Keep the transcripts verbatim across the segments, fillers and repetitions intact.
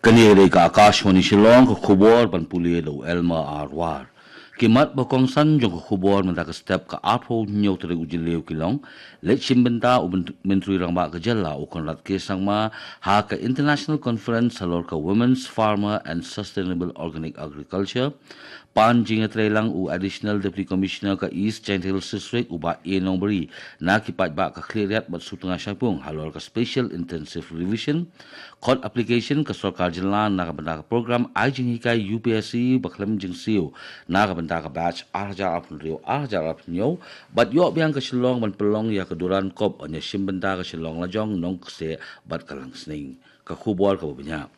Kane ka dei ka Akashvani Shillong, ka khubor ban pule da u Elma Arwar. Ki mat ba kongsan jong ka khubor mynta ka step ka arphew hynñiew tarik u Jylliew ki long: Leit shim bynta u Mynt-, Myntri Rangbah ka Jylla u Conrad K Sangma ha ka International Conference halor ka Women's Farmer and Sustainable Organic Agriculture. Pan jingïatreilang u Additional Deputy Commissioner ka East Jaintia Hills District u Bah A Nongbri na ki paidbah ka Khliehriat bad Sutnga Shaipung halor ka Special Intensive Revision. Khot application ka Sorkar Jylla na ka bynta ka program ai jinghikai U P S C ba khlem jingsiew na ka bynta ka batch ar hajar arphew hynriew ar hajar arphew hynñiew, bad ïoh biang ka Shillong ban pynlong ïa ka Durand Cup ban ïashim bynta ka Shillong lajong, nongkyrsiew bad ka langsning. Ka khubor kaba bniah.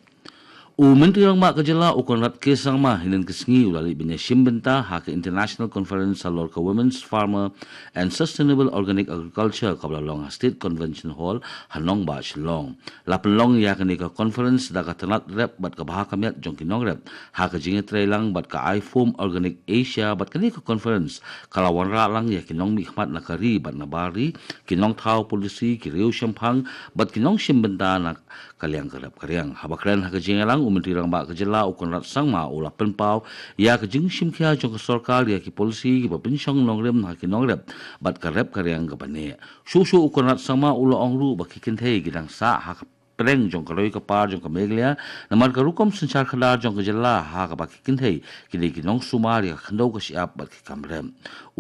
U Myntri Rangbah ka Jylla u Conrad K Sangma hynnin ka sngi u la leit ban ïashim bynta ha ka International Conference halor ka Women's Farmer and Sustainable Organic Agriculture kaba la long ha State Convention Hall ha nongbah Shillong. La pynlong ïa kane ka conference da ka tnat rep bad ka bha ka miat jong ki nongrep ha ka jingïatreilang bad ka IFOAM Organic Asia, bad kane ka conference ka la wanrah lang ïa ki nongmihkhmat na ka ri bad na bar ri, ki nongthaw policy, ki riew shemphang bad ki nongshim bynta na ka liang ka rep ka riang. Haba kren ha ka jingïalang, u Myntri Rangbah ka Jylla u Conrad Sangma u la pynpaw ïa ka jingshimkhia jong ka sorkar ïa ki policy kiba pynshong nongrim ha ki nongrep bad ka rep ka riang kaba neh. Shuh shuh u Conrad Sangma u la ong ruh ba ki kynthei ki dang sah ha ka pdeng jong ka roi ka par jong ka Meghalaya namar ka rukom synshar khadar jong ka Jylla ha kaba ki kynthei ki dei ki nongsumar ïa ka khyndew ka shyiap bad ki kam rep.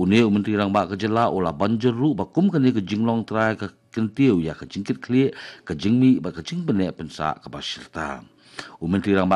Une u Myntri Rangbah ka Jylla u la ban jur ruh ba kum kane ka jinglong trai ka kyntiew ïa ka jingkitkhlieh, ka jingmih bad ka jingbneh pynsah kaba shirta. U Myntri Rangbah